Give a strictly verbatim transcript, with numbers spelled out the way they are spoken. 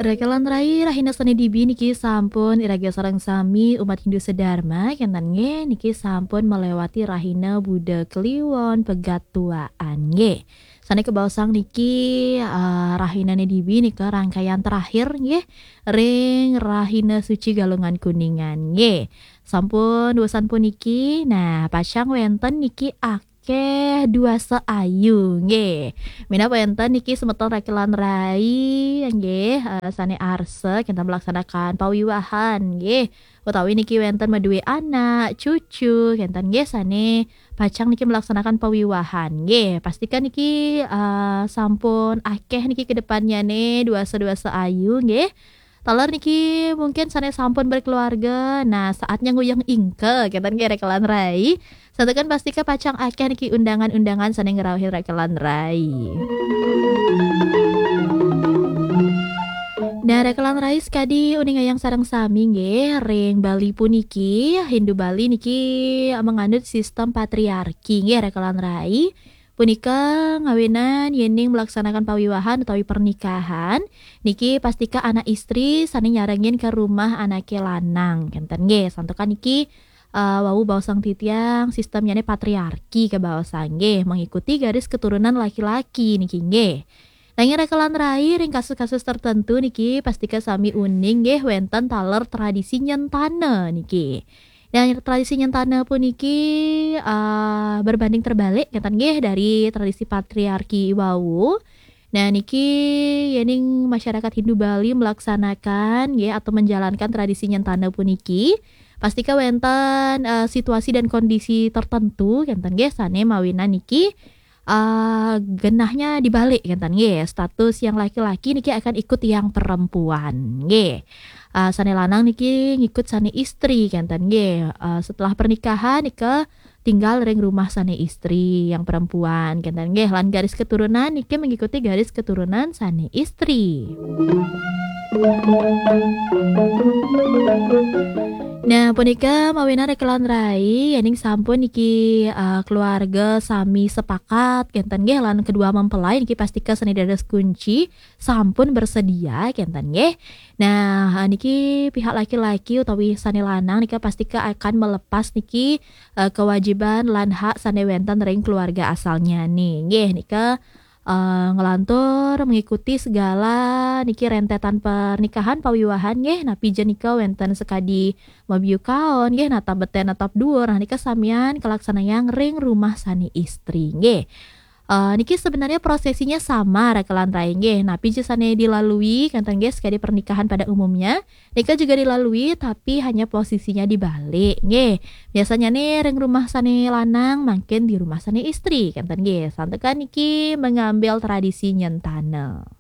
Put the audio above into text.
Rekelan rai, rahina sane dibi niki sampun iraga sareng sami umat Hindu sedharma, kenten nggih, niki sampun melewati rahina Buda Kliwon pegat tuaan nggih. Sane kebaosang niki, eh, rahinane dibi nika rangkaian terakhir nggih, ring rahina suci Galungan Kuningan nggih. Sampun wesan puniki, nah, pacang wenten niki akeh duasa ayu nggih. Minab wenten niki semeton rekelan rai nggih, eh, sane arsa kenten melaksanakan pawiwahan nggih. Utawi niki wenten madue anak, cucu, kenten nggih sane pacang niki melaksanakan pawiwahan nggih. Pastikan niki, eh, sampun akeh niki ke depannyane duasa-duasa ayu nggih. Taler niki mungkin sane sampun berkeluarga, nah, saatnya nguyeng ingke, kenten nggih rekelan rai. Santukan pastika pacang akeh niki undangan-undangan sane ngrauhin rekelan rai. Nah, rekelan rai sekadi uningayang sareng sami nggih, ring Bali puniki, Hindu Bali niki menganut sistem patriarki nggih rekelan rai. Punika ngawinan yening melaksanakan pawiwahan utawi pernikahan, niki pastika anak istri sane nyarengin ke rumah anake lanang, kenten nggih. Santukan niki, eh, wau baosang titiang sistemnyane patriarki kebaosang nggih, mengikuti garis keturunan laki-laki niki nggih. Nanging rekelan rai ring kasus-kasus tertentu niki pastika sami uning nggih wenten taler tradisi nyentana niki. Nah, tradisi nyentana puniki, eh, berbanding terbalik kenten nggih dari tradisi patriarki wau. Nah, niki yening masyarakat Hindu Bali melaksanakan nggih atau menjalankan tradisi nyentana puniki, pastika wenten, eh, situasi dan kondisi tertentu kenten nggih sane mawinan niki, eh, genahnya dibalik kenten nggih. Status yang laki-laki niki akan ikut yang perempuan nggih. Eh, sane lanang niki ngikut sane istri kenten nggih. Eh, setelah pernikahan nika tinggal ring rumah sane istri yang perempuan kenten nggih. Lan garis keturunan niki mengikuti garis keturunan sane istri. Nah, punika mawinan rekelan rai, yening sampun niki, eh, keluarga sami sepakat kenten nggih lan kedua mempelai niki pastika sane dados kunci sampun bersedia kenten nggih. Nah, eh, niki pihak laki-laki utawi sane lanang nika pastika akan melepas niki, eh, kewajiban lan hak sane wenten ring keluarga asalnyane nggih. Nika eh, nglantur mengikuti segala niki rentetan pernikahan pawiwahan nggih, napi ja nika wenten sekadi mabiu kaon nggih, natap beten natap duur. Nah, nika samian kalaksanayang ring rumah sane istri nggih. Eh, niki sebenarnya prosesinya sama rekelan rai nggih. Napi ja sane dilalui kenten nggih sekadi pernikahan pada umumnya, nika juga dilalui tapi hanya posisinya dibalik nggih. Biasanya nih ring rumah sane lanang mangkin di rumah sane istri kenten nggih. Santukan niki mengambil tradisi nyentana.